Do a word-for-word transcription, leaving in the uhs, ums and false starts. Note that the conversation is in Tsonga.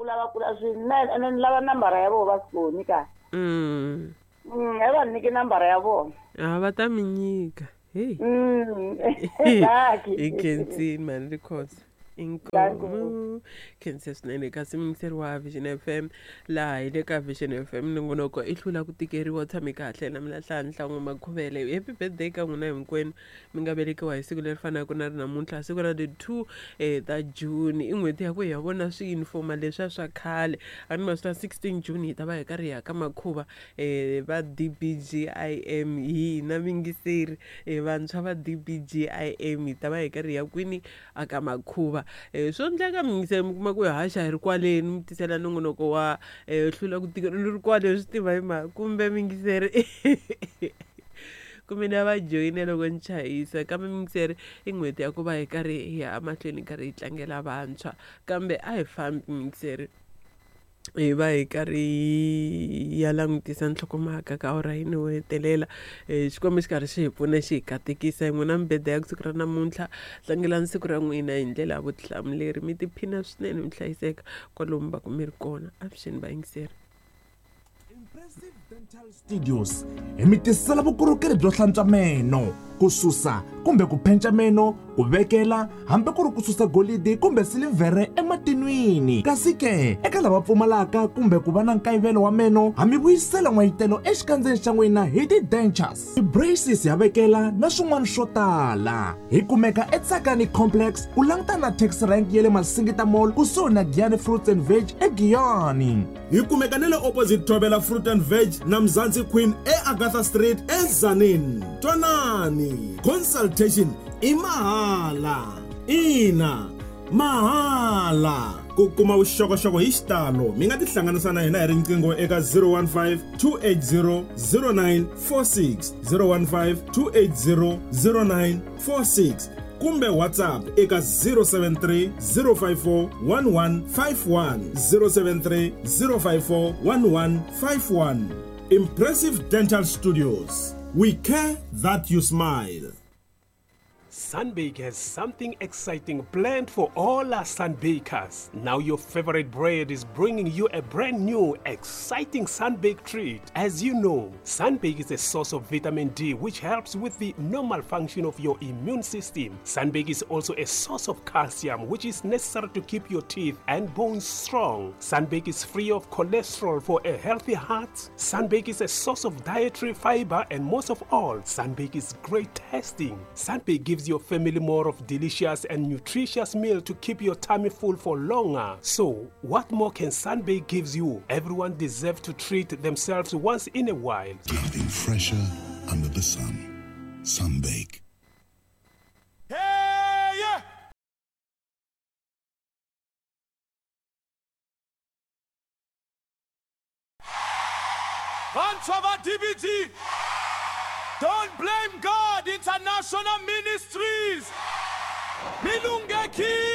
kula va kula swinene ene ni lava nambara ya vona va soni ka. Mm. Mm, a va nyiki nambara ya vona. A va ta mi nyika. Hey. Mm. Hi khensini mani Rikhosa. Inkomu. Khense swinene kasi muyingiseri wa Vision F M laha hi le ka Vision F M nongonoko i hlula ku tikeriwa u tshame kahle na mina Nhlanhla N'wa-Makhuvele. Happy birthday ka n'wina hinkwenu mi nga velekiwa hi siku leri fanaka na ri namuntlha siku ra the two eh, ta June i n'hweti ya ku hi ya vona swiyunifoma leswiya swa khale a ni ma swi sixteen June hi ta va hi karhi hi ya ka makhuva eh, va D B G I M hina muyingiseri eh, vantshwa va D B G I M hi ta va hi karhi hi ya kwini a ka makhuva. Eh, swo endleka muyingiseri mi kuma ku hi haxa hi ri kwaleni mi tisela nongonoko wa eh, hlula ku tika ni ri kwale swi tiva hi mhaka kumbe muyingiseri kumbe na va joyina loko ni chayisa kambe muyingiseri i n'hweti ya ku va hi karhi hi ya emahlweni hi karhi hi tlangela vantshwa kambe a hi fambi muyingiseri hi va hi karhi hi ya langutisa nhlokomhaka ka awara yini wo hetelela um Xikwembu xi karhi xi hi pfuna xi hi katekisa hi n'wina mibeda ya siku ra namuntlha tlangelani siku ra n'wina hi ndlela ya vutihlamuleri mi tiphina swinene mi hlayiseka kwalomu va ku mi ri kona avuxeni vayingiseri. Impressive Dental Studios hi mi tisela vukorhokeri byo hlantswa meno ku susa kumbe ku phenca meno ku vekela hambi ku ri ku susa golidi kumbe silivhere ematinwini kasi ke eka lava pfumalaka kumbe ku va na nkayivelo wa meno ha mi vuyisela n'wayitelo exikandzeni xa n'wina hi ti-dentures ti-braces ya vekela na swin'wana swo tala. Hi kumeka eTsakani Complex ku langutana na taxi rank ya le Masingita Mall kusuhi na Giyani Fruits and Veg eGiyani. Hi kumeka na le opposite Thobela Fruit and Veg na Mzansi Queen e Agatha Street eZanini. Twanani, consultation i mahala. Ina, mahala. Ku kuma vuxokoxoko hi xitalo mi nga tihlanganisa na hina hi riqingho eka zero one five two eight zero zero nine four six zero one five two eight zero zero nine four six kumbe WhatsApp eka zero seven three zero five four one one five one zero seven three zero five four one one five one. Impressive Dental Studios. We care that you smile. Sunbake has something exciting planned for all our Sunbakers. Now your favorite bread is bringing you a brand new, exciting Sunbake treat. As you know, Sunbake is a source of vitamin D which helps with the normal function of your immune system. Sunbake is also a source of calcium which is necessary to keep your teeth and bones strong. Sunbake is free of cholesterol for a healthy heart. Sunbake is a source of dietary fiber and most of all, Sunbake is great tasting. Sunbake gives your family more of delicious and nutritious meal to keep your tummy full for longer. So, what more can Sunbake gives you? Everyone deserves to treat themselves once in a while. Nothing fresher under the sun. Sunbake. Hey, yeah! Vantshwa D B G! Don't blame God International Ministries. Milungeki.